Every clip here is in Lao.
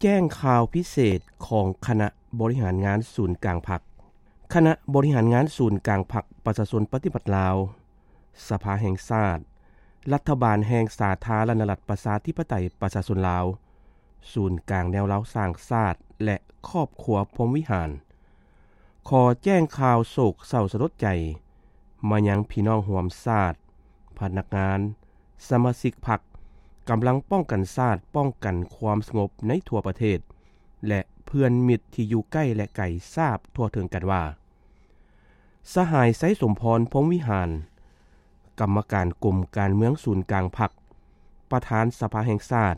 ແຈ້ງຂ່າວພິເສດຂອງຄະນະບໍລິຫານງານສູນກາງພັກ. ຄະນະບໍລິຫານງານສູນກາງພັກປະຊາຊົນປະຕິວັດລາວ, ສະພາແຫ່ງຊາດ, ລັດຖະບານແຫ່ງສາທາລະນະລັດປະຊາທິປະໄຕປະຊາຊົນລາວ, ສູນກາງແນວລາວສ້າງຊາດ ແລະ ຄອບຄົວພົມວິຫານ ຂໍແຈ້ງຂ່າວໂສກເສົ້າສະຫຼົດໃຈມາຍັງພີ່ນ້ອງຮ່ວມຊາດ, ພະນັກງານ, ສະມາຊິກພັກ, ກຳລັງປ້ອງກັນຊາດ, ປ້ອງກັນຄວາມສະຫງົບໃນທົ່ວປະເທດ ແລະ ເພື່ອນມິດທີ່ຢູ່ໃກ້ ແລະ ໄກຊາບທົ່ວເຖິງກັນວ່າ ສະຫາຍ ໄຊສົມພອນ ພົມວິຫານ ກຳມະການກົມການເມືອງສູນກາງພັກ, ປະທານສະພາແຫ່ງຊາດ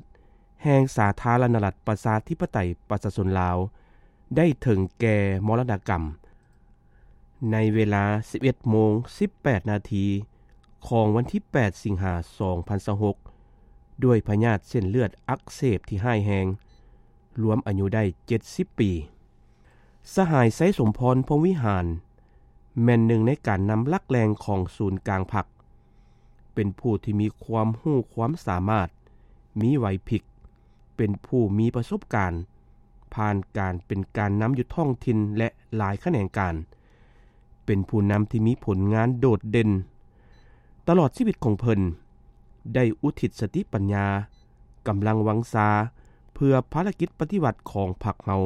ແຫ່ງສາທາລະນະລັດປະຊາທິປະໄຕປະຊາຊົນລາວ ໄດ້ເຖິງແກ່ມໍລະນະກຳ ໃນເວລາສິບເອັດໂມງສິບແປດນາທີ ຂອງວັນທີແປດ ສິງຫາ ສອງພັນຊາວຫົກ ດ້ວຍພະຍາດເສັ້ນເລືອດອັກເສບທີ່ຮ້າຍແຮງ, ລວມອາຍຸໄດ້ເຈັດສິບປີ. ສະຫາຍ ໄຊສົມພອນ ພົມວິຫານ ແມ່ນໜຶ່ງໃນການນຳຫຼັກແຫຼ່ງຂອງສູນກາງພັກ, ເປັນຜູ້ທີ່ມີຄວາມຮູ້ຄວາມສາມາດ, ມີໄຫວພິບ, ເປັນຜູ້ມີປະສົບການ, ຜ່ານການເປັນການນຳຢູ່ທ້ອງຖິ່ນ ແລະ ຫຼາຍຂະແໜງການ, ເປັນຜູ້ນຳທີ່ມີຜົນງານໂດດເດັ່ນ. ຕະຫຼອດຊີວິດຂອງເພິ່ນ ໄດ້ອຸທິດສະຕິປັນຍາ, ກຳລັງວັງຊາ ເພື່ອພາລະກິດປະຕິວັດຂອງພັກເຮົາ,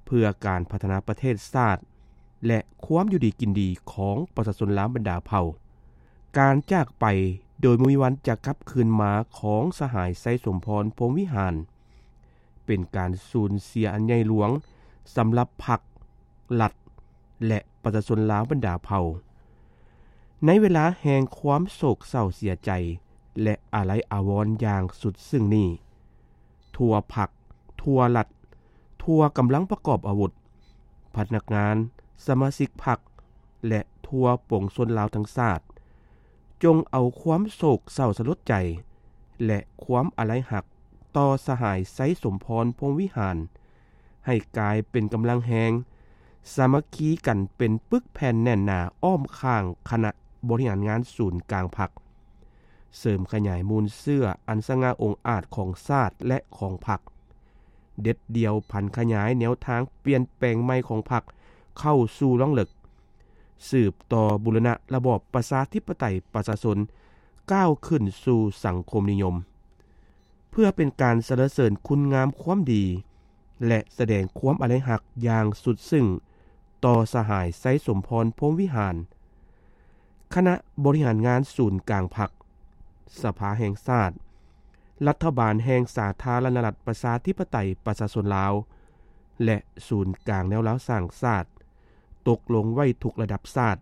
ເພື່ອການພັດທະນາປະເທດຊາດ ແລະ ຄວາມຢູ່ດີກິນດີຂອງປະຊາຊົນລາວບັນດາເຜົ່າ. ການຈາກໄປໂດຍບໍ່ມີວັນຈະກັບຄືນມາຂອງສະຫາຍ ໄຊສົມພອນ ພົມວິຫານ ເປັນການສູນເສຍອັນໃຫຍ່ຫຼວງສຳລັບພັກ, ລັດ ແລະ ປະຊາຊົນລາວບັນດາເຜົ່າ. ໃນເວລາແຫ່ງຄວາມໂສກເສົ້າເສຍໃຈ ແລະ ອາໄລອາວອນຢ່າງສຸດຊຶ້ງນີ້, ທົ່ວພັກ, ທົ່ວລັດ, ທົ່ວກຳລັງປະກອບອາວຸດ, ພະນັກງານ, ສະມາຊິກພັກ ແລະ ທົ່ວປວງຊົນລາວທັງຊາດ, ຈົ່ງເອົາຄວາມໂສກເສົ້າສະຫຼົດໃຈ ແລະ ຄວາມອາໄລຮັກຕໍ່ສະຫາຍ ໄຊສົມພອນ ພົມວິຫານ ໃຫ້ກາຍເປັນກຳລັງແຮງ, ສາມັກຄີກັນເປັນປຶກແຜ່ນແໜ້ນໜາອ້ອມຂ້າງຄະນະບໍລິຫານງານສູນກາງພັກ, ເສີມຂະຫຍາຍມູນເຊື້ອອັນສະຫງ່າອົງອາດຂອງຊາດ ແລະ ຂອງພັກ, ເດັດດ່ຽວຜັນຂະຫຍາຍແນວທາງປ່ຽນແປງໃໝ່ຂອງພັກເຂົ້າສູ່ລວງເລິກ, ສືບຕໍ່ບູລະນະລະບອບປະຊາທິປະໄຕປະຊາຊົນກ້າວຂຶ້ນສູ່ສັງຄົມນິຍົມ. ເພື່ອເປັນການສັນລະເສີນຄຸນງາມຄວາມດີ ແລະ ສະແດງຄວາມອາໄລຮັກຢ່າງສຸດຊຶ້ງຕໍ່ສະຫາຍ ໄຊສົມພອນ ພົມວິຫານ, ຄະນະບໍລິຫານງານສູນກາງພັກ, ສະພາແຫ່ງຊາດ, ລັດຖະບານແຫ່ງສາທາລະນະລັດປະຊາທິປະໄຕປະຊາຊົນລາວ ແລະ ສູນກາງແນວລາວສ້າງຊາດ ຕົກລົງໄວ້ທຸກລະດັບຊາດ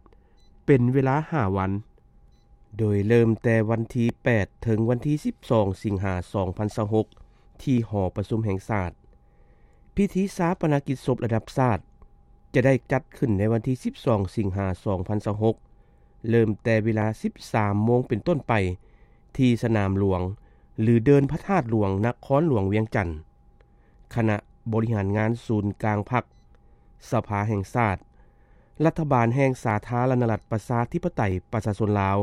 ເປັນເວລາຫ້າວັນ, ໂດຍເລີ່ມແຕ່ວັນທີແປດ ເຖິງວັນທີສິບສອງ ສິງຫາ ສອງພັນຊາວຫົກ ທີ່ຫໍປະຊຸມແຫ່ງຊາດ. ພິທີຊາປະນະກິດສົບລະດັບຊາດ ຈະໄດ້ຈັດຂຶ້ນໃນວັນທີສິບສອງ ສິງຫາ ສອງພັນຊາວຫົກ ເລີ່ມແຕ່ເວລາສິບສາມໂມງເປັນຕົ້ນໄປ ທີ່ສະໜາມຫຼວງ ຫຼື ເດີ່ນພະທາດຫຼວງ ນະຄອນຫຼວງວຽງຈັນ. ຄະນະບໍລິຫານງານສູນກາງພັກ, ສະພາແຫ່ງຊາດ, ລັດຖະບານແຫ່ງສາທາລະນະລັດປະຊາທິປະໄຕປະຊາຊົນລາວ,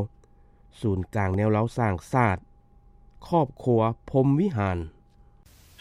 ສູນກາງແນວລາວສ້າງຊາດ, ຄອບຄົວພົມວິຫານ.